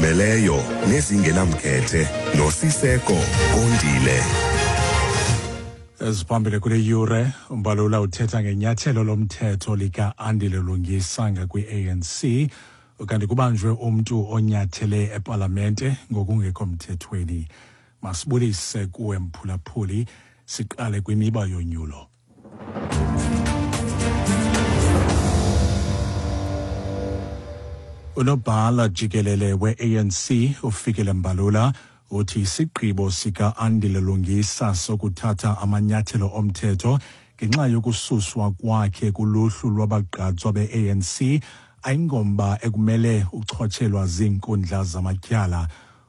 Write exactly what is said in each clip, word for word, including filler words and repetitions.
Ezizimeleyo nezingenamkhethe noSiseko Kondile. Eziphambili kule yure: uMbalula uthetha ngenyathelo lomthetho lika-Andile Lungisa ngakwi-A N C, ukanti kubanjwe umntu onyathele epalamente ngokungekho mthethweni. Masibulise kuwe, mphulaphuli. Siqale kwimiba yonyulo. Unobhala jikelele we-A N C uFikile Mbalula uthi isigqibo sika-Andile Lungisa sokuthatha amanyathelo omthetho ngenxa yokususwa kwakhe kuluhlu lwabagqatswa be-A N C ayingomba ekumele uchotshelwa ziinkundla zamatyala.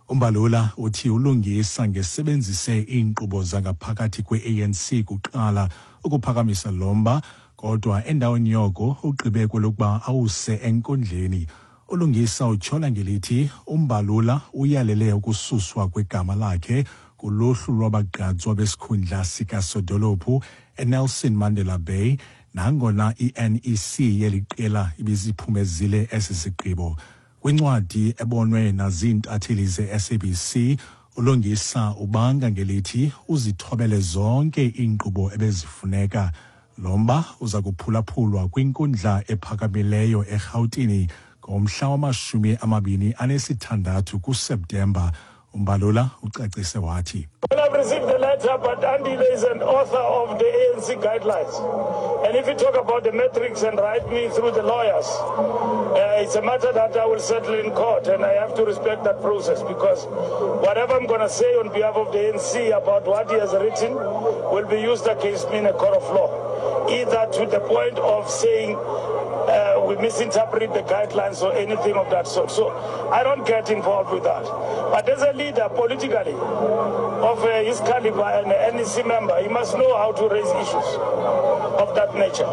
UMbalula uthi uLungisa ngesebenzise iinkqubo zangaphakathi kwe-A N C kuqala ukuphakamisa lo mba, kodwa endaweni yoko ugqibe kwelokuba awuse enkundleni. ULungisa utyhola ngelithi uMbalula uyalele ukususwa kwegama lakhe kuluhlu lwabagqatswa besikhundla sikasodolophu eNelson Mandela Bay, nangona i-N E C yeli qela ibiziphumezile esi sigqibo. Kwincwadi ebonwe naziintatheli ze-S A B C, uLungisa ubanga ngelithi uzithobele zonke iinkqubo ebezifuneka. Lo mba uza kuphulaphulwa kwinkundla ephakamileyo eRhawutini ngomhla wamashumi amabini anesithandathu kuSeptemba. UMbalula ucacise wathi: Well, I've received the letter, but Andile is an author of the A N C guidelines. And if you talk about the metrics and write me through the lawyers, uh, it's a matter that I will settle in court, and I have to respect that process because whatever I'm going to say on behalf of the A N C about what he has written will be used against me in a court of law, either to the point of saying uh, we misinterpret the guidelines or anything of that sort. So I don't get involved with that. But as a leader politically of uh, his caliber and an N E C member, he must know how to raise issues of that nature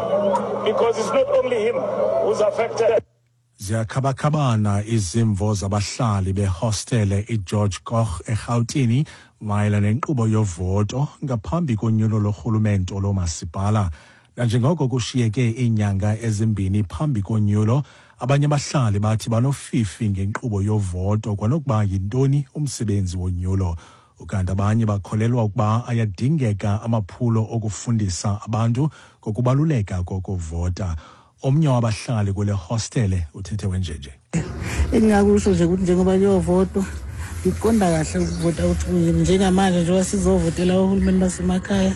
because it's not only him who's affected. Ziyakhabakhabana izimvo zabahlali behostele iGeorge Goch eRhawutini mayelana nenkqubo yovoto ngaphambi konyulo lorhulumento lomasipala. Nanjengoko kushiyeke iinyanga ezimbini phambi konyulo, abanye abahlali bathi banofifi ngenkqubo yovoto kwanokuba yintoni umsebenzi wonyulo. Ukanti abanye bakholelwa ukuba ayadingeka amaphulo okufundisa abantu ngokubaluleka kokuvota. Omnye wabahlali kule hostele uthethe wenjenje. Engingakusho nje ukuthi njengoba kuyovotwa, ngiqonda kahle ukuvota ukuthi kuyini. Njengamanje njengoba sizovotela ohulumeni basemakhaya,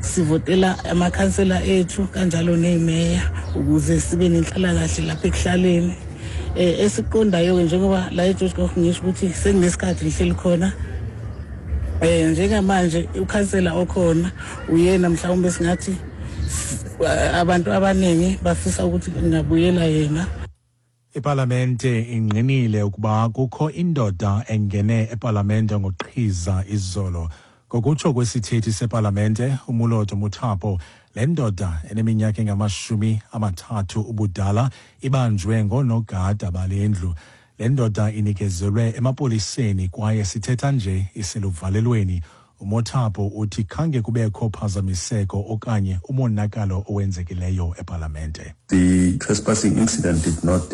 sivotela amakhansela ethu kanjalo ney'meya ukuze sibe nenhlalakahle lapha ekuhlaleni. um esiqondayo-ke njengoba la eGeorge Goch, ngisho ukuthi senginesikhathi ngihleli khona. um njengamanje ukhansela okhona uyena mhlawumbe singathi abantu abaningi bafisa ukuthi ngingabuyela yena. Ipalamente ingqinile ukuba kukho indoda engene epalamente ngoqhiza izolo. Ngokutsho kwesithethi sepalamente uMoloto Mothapo, le ndoda eneminyaka engamashumi amathathu ubudala ibanjwe ngoonogada bale ndlu. Le ndoda inikezelwe emapoliseni kwaye sithetha nje iseluvalelweni. UMothapo uthi khange kubekho phazamiseko okanye umonakalo owenzekileyo epalamente. The trespassing incident did not